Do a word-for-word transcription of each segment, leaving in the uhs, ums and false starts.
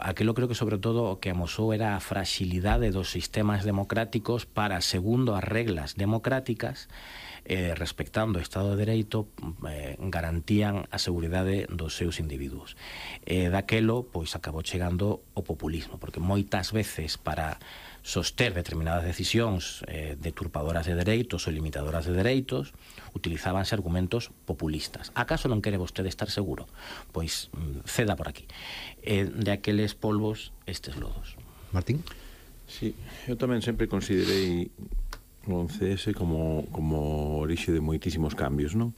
aquilo creo que sobre todo o que amosou era a fragilidade dos sistemas democráticos para, segundo as reglas democráticas, eh, respectando o Estado de Dereito, eh, garantían a seguridade dos seus individuos. E daquelo, pois, acabou chegando o populismo, porque moitas veces para soster determinadas decisións eh, deturpadoras de dereitos ou limitadoras de dereitos, utilizábanse argumentos populistas. Acaso non quere vostede estar seguro? Pois ceda por aquí. Eh, de aqueles polvos, estes lodos. Martín? Sí, eu tamén sempre considerei o once ese como, como orixe de moitísimos cambios, non?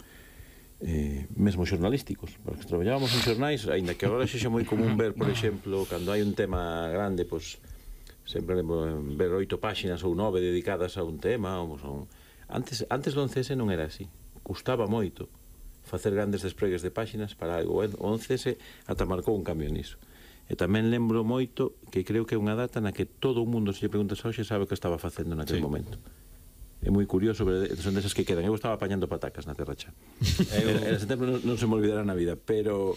Eh, mesmo xornalísticos, porque traballábamos en xornais, aínda que agora xa é moi común ver, por exemplo, cando hai un tema grande, pois sempre ver oito páxinas ou nove dedicadas a un tema ou a un... antes, antes do once ese non era así, custaba moito facer grandes despregues de páxinas para algo. O once ese ata marcou un cambio niso. E tamén lembro moito que creo que é unha data na que todo o mundo, se lle preguntas hoxe, sabe o que estaba facendo naquele sí. momento. É moi curioso, son desas que quedan. Eu estaba apañando patacas na Terra Cha. Eu, en setembro non, non se me olvidará na vida, pero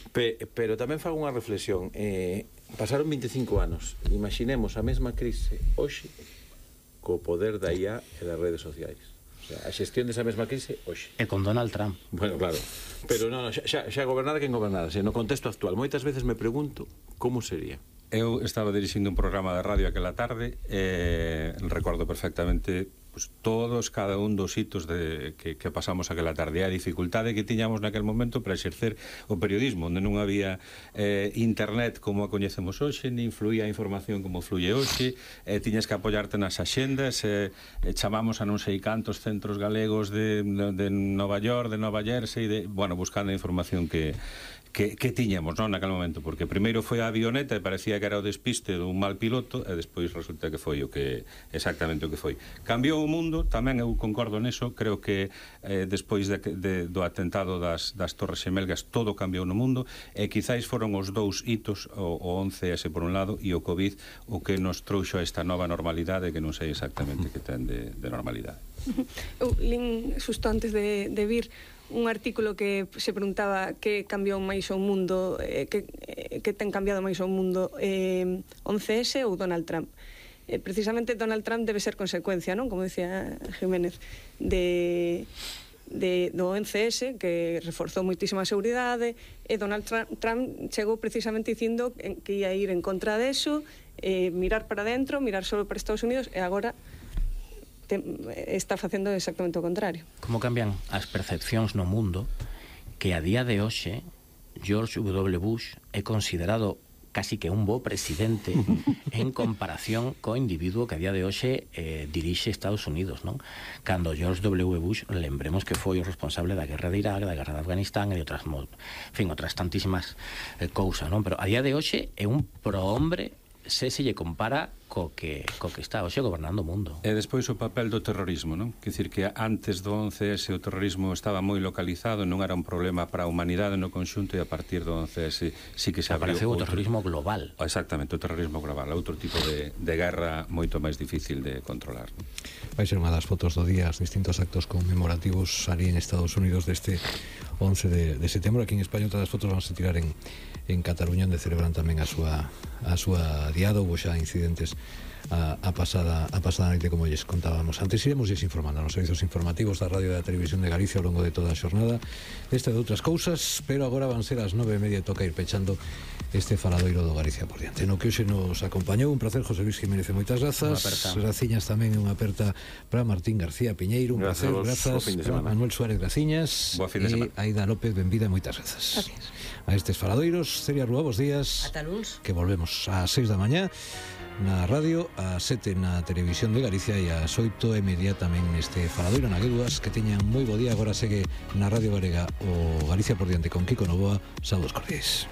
pe, pero tamén fago unha reflexión. Eh, pasaron veinticinco anos. Imaginemos a mesma crise hoxe co poder da I A e das redes sociais. O sea, a xestión desa mesma crise hoxe. E con Donald Trump. Bueno, claro. Pero non, xa, xa gobernara quen gobernara. No contexto actual, moitas veces me pregunto como sería. Eu estaba dirixindo un programa de radio aquela tarde e recordo perfectamente pues, todos, cada un dos hitos de, que, que pasamos aquela tarde. A dificultade que tiñamos naquel momento para exercer o periodismo, onde non había eh, internet como a coñecemos hoxe, nin fluía a información como fluye hoxe, eh, tiñas que apoiarte nas axendas, eh, eh, chamamos a non sei cantos centros galegos de, de Nova York, de Nova Jersey, de, bueno, buscando a información que Que, que tiñamos, non, naquele momento, porque primeiro foi a avioneta e parecía que era o despiste dun mal piloto e despois resulta que foi o que exactamente o que foi. Cambiou o mundo, tamén eu concordo neso, creo que eh, despois de, de, do atentado das, das Torres Xemelgas todo cambiou no mundo e quizáis foron os dous hitos, o, o once ese por un lado e o COVID o que nos trouxo a esta nova normalidade que non sei exactamente que ten de, de normalidade. Eu lin xusto antes de, de vir un artículo que se preguntaba que cambiou máis o mundo, eh, que, eh, que ten cambiado máis o mundo, eh, once ese ou Donald Trump. Eh, precisamente Donald Trump debe ser consecuencia, non? Como decía Jiménez, de, de, do once ese, que reforzou moitísima seguridade, e Donald Trump, Trump chegou precisamente dicindo que ia ir en contra deso, eh, mirar para dentro, mirar solo para Estados Unidos, e agora Te, está facendo exactamente o contrario. Como cambian as percepcións no mundo que a día de hoxe George W. Bush é considerado casi que un bo presidente en comparación co individuo que a día de hoxe eh, dirixe Estados Unidos, non? Cando George W. Bush, lembremos que foi o responsable da guerra de Irak, da guerra de Afganistán e de outras, en fin, outras tantísimas eh, cousas, non? Pero a día de hoxe é un prohombre se se lle compara co que, co que está hoxe gobernando o mundo. E despois o papel do terrorismo, non? Quer dicir que antes do once ese o terrorismo estaba moi localizado, non era un problema para a humanidade no conxunto, e a partir do once ese sí que se abriu apareceu o terrorismo global. Exactamente, o terrorismo global, outro tipo de, de guerra moito máis difícil de controlar, non? Vai ser unha das fotos do día, os distintos actos conmemorativos ali en Estados Unidos deste once de, de setembro. Aquí en España outras das fotos vamos a tirar en, en Cataluña, onde celebran tamén a súa a súa diada. Houve xa incidentes a, a pasada a pasada noite, como lles contábamos antes. Iremos lles informando nos servizos informativos da Radio e da Televisión de Galicia ao longo de toda a xornada desta e de outras cousas, pero agora van ser as nove e media e toca ir pechando este faladoiro do Galicia por diante. No que hoxe nos acompañou, un placer, José Luis Jiménez, moitas grazas. Graciñas tamén, unha aperta para Martín García Piñeiro, un placer, grazas para Manuel Suárez Graciñas e Aida López, benvida, moitas grazas. Gracias. A estes faladoiros, Celia Rúa, bos días. Ata luns. Que volvemos ás seis da mañá na radio, ás sete na Televisión de Galicia e ás oito e media tamén neste faladoiro na Gueduas. Que teñan moi bo día. Agora segue na Radio Galega o Galicia por diante con Kiko Novoa. Saúdos cordiais.